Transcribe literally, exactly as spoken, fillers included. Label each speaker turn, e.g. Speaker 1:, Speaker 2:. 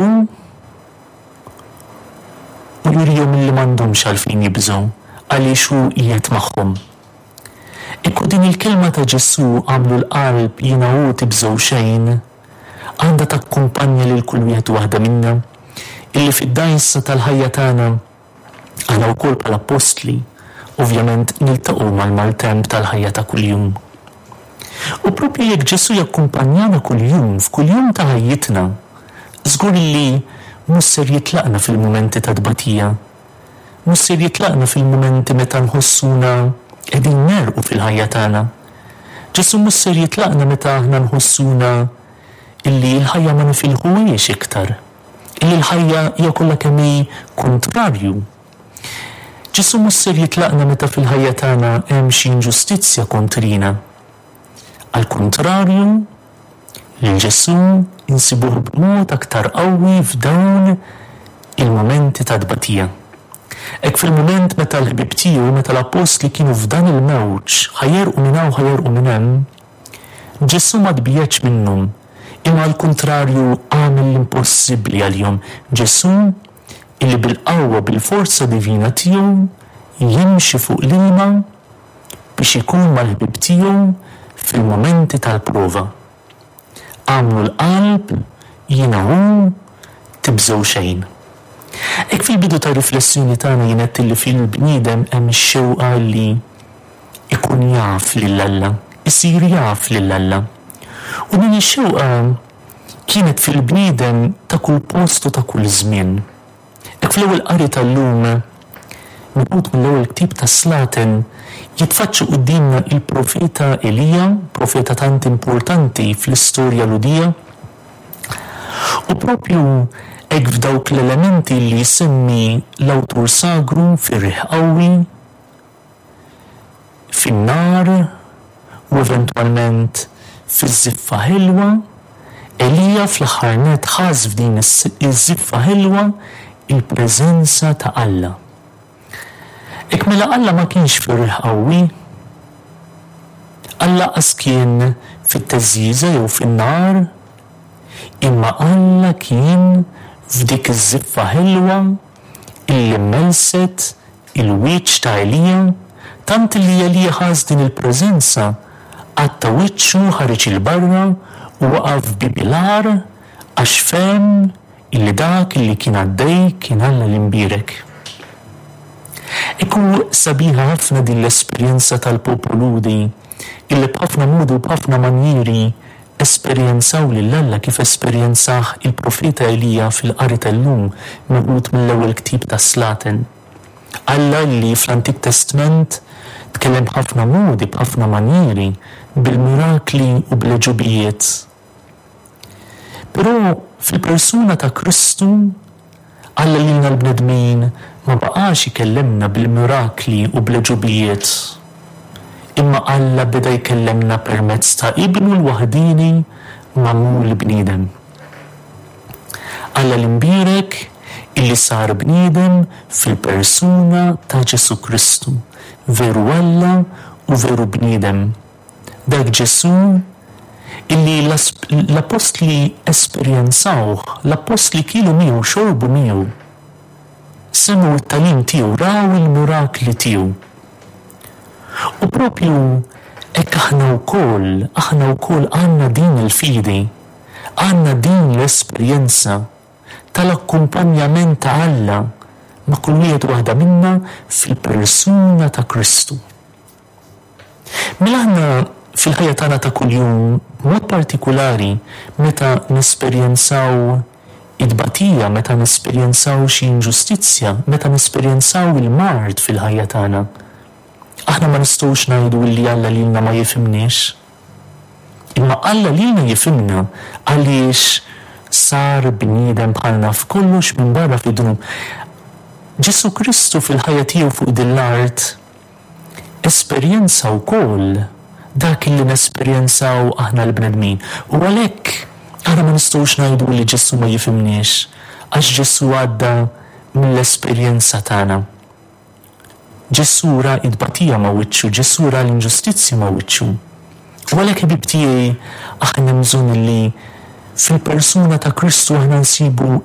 Speaker 1: U jurihom illi m'għandhomx għalfejn jibżgħu għaliex hu qiegħed magħhom. Ekku din il-kelma ta' Ġesù, "Agħmlu l-qalb, jiena hu, tibżgħu xejn", għandha takkumpanja lil kull wieħed u waħda minna illi fid-dgħajsa tal-ħajja tagħna aħna wkoll bħala appostli ovvjament niltaqgħu mal-maltemp tal-ħajja ta' kuljum. U propju jekk Ġesù jakkumpanjana kuljum, f'kuljum ta' ħajjitna, żgur li mhux ser jitlaqna fil-mumenti ta' tbatija. Mhux ser jitlaqna fil-mumenti meta nħossuna qegħdin negħrqu fil-ħajja tagħna. Ġesù mhux ser jitlaqna meta aħna nħossuna illi l-ħajja ma nifilħuhiex iktar. Illi l-ħajja hija kollha kemm hi kontrarju. Ġesù mhux ser jitlaqna meta fil-ħajja tagħna hemm xi inġustizzja kontrina. Al kontrarju, lil Ġesù insibuh b'mod aktar qawwi f'dawn il-momenti ta' tbatija. Hekk fil-moment meta l-ħbieb tiegħu, meta l-appostli kienu f'dan il-mewġ, ħa jegħrqu minn hawn, ħa jegħrqu minn hemm, Ġesù ma tbiegħedx minnhom, imma al kontrarju għamel l-impossibbli għalihom. Ġesù illi bil-qawwa, bil-forza divina tiegħu jimxi fuq l-ilma biex ikun mal-ħbieb tiegħu fil-momenti tal-prova. "Agħmlu l-qalb, jiena hu, tibżgħu xejn." Hekk fil-bidu ta' riflessjoni tagħna jien għedt li fil-bniedem hemm ix-xewqa li ikun jaf lil Alla, isir jaf lil Alla. U din ix-xewqa kienet fil-bniedem ta' kull post u ta' kull żmien. Hekk fl-ewwel qari tal-lum, meħud mill-ewwel ktieb ta' Slaten, jitfaċċa quddiemna il-profeta Elija, profeta tant importanti fl-istorja Lhudija. U propju hekk f'dawk l-elementi li jsemmi l-awtur sagru, fir-riħ qawwi, fin-nar u eventwalment fiż-żiffa ħelwa, Elija fl-aħħar nett ħass f'din iż-żiffa ħelwa il-preżenza ta' Alla. Hekk mela Alla ma kienx fir-riħ qawwi, Alla qas kien fit-teżżiża jew fin-nar, imma Alla kien f'dik iż-żiffa ħelwa illi melset il-wiċċ ta' Elija, tant li Elija ħass din il-preżenza, għatta wiċċu, ħareġ 'il barra u waqaf bieb il-għar għax fehem illi dak illi kien għaddej kien Alla l-imbierek. Ekku sabiħa ħafna din l-esperjenza tal-poplu Lhudi illi b'ħafna modi u b'ħafna manjieri esperjenzaw lil Alla kif esperjenzah il-profeta Elija fil-qari tal-lum meħud mill-ewwel ktieb ta' Slaten. Alla li fl-Antik Testament tkellem b'ħafna modi, b'ħafna manjieri, bil-mirakli u bl-għeġubijiet. Però fil-persuna ta' Kristu Alla lilna l-bnedmin ma baqax ikellemna bil-mirakli u bl-għeġubijiet. Imma Alla beda jkellemna permezz ta' Ibnu l-waħdini magħmul bniedem. Alla l-imbierek illi sar bniedem fil-persuna ta' Ġesù Kristu, veru Alla u veru bniedem. Dak Ġesù illi l-apostli esperjenzawh, l-apostli kielu miegħu, xorbu miegħu, semgħu t-tagħlim tiegħu, raw il-mirakli tiegħu. U propju hekk aħna wkoll, aħna wkoll għandna din il-fidi, għandna din l-esperjenza tal-akkumpanjament ta' Alla ma' kull wieħed waħda minna fil-persuna ta' Kristu. Mela aħna fil-ħajja tagħna ta' kuljum, b'mod partikulari meta nesperjenzaw it-tbatija, meta nesperjenzaw xi inġustizzja, meta nesperjenzaw il-mard fil-ħajja tagħna, aħna ma nistgħux ngħidu li Alla lilna ma jifhimniex. Imma Alla lilna jifhimna għaliex sar bniedem bħalna f'kollox minbarra fid-dnub. Ġesù Kristu fil-ħajja tiegħu fuq din l-art esperjenza wkoll dak li nesperjenzaw aħna l-bnedmin. U għalhekk aħna ma nistgħux ngħidu li Ġesù ma jifhimniex, għax Ġesù għadda mill-esperjenza tagħna. Ġesù ra it-tbatija ma' wiċċu, Ġesù ra l-inġustizzja ma' wiċċu. U għalhekk, ħbieb tiegħi, aħna bżonn li Fil-persuna ta' Kristu aħna nsibu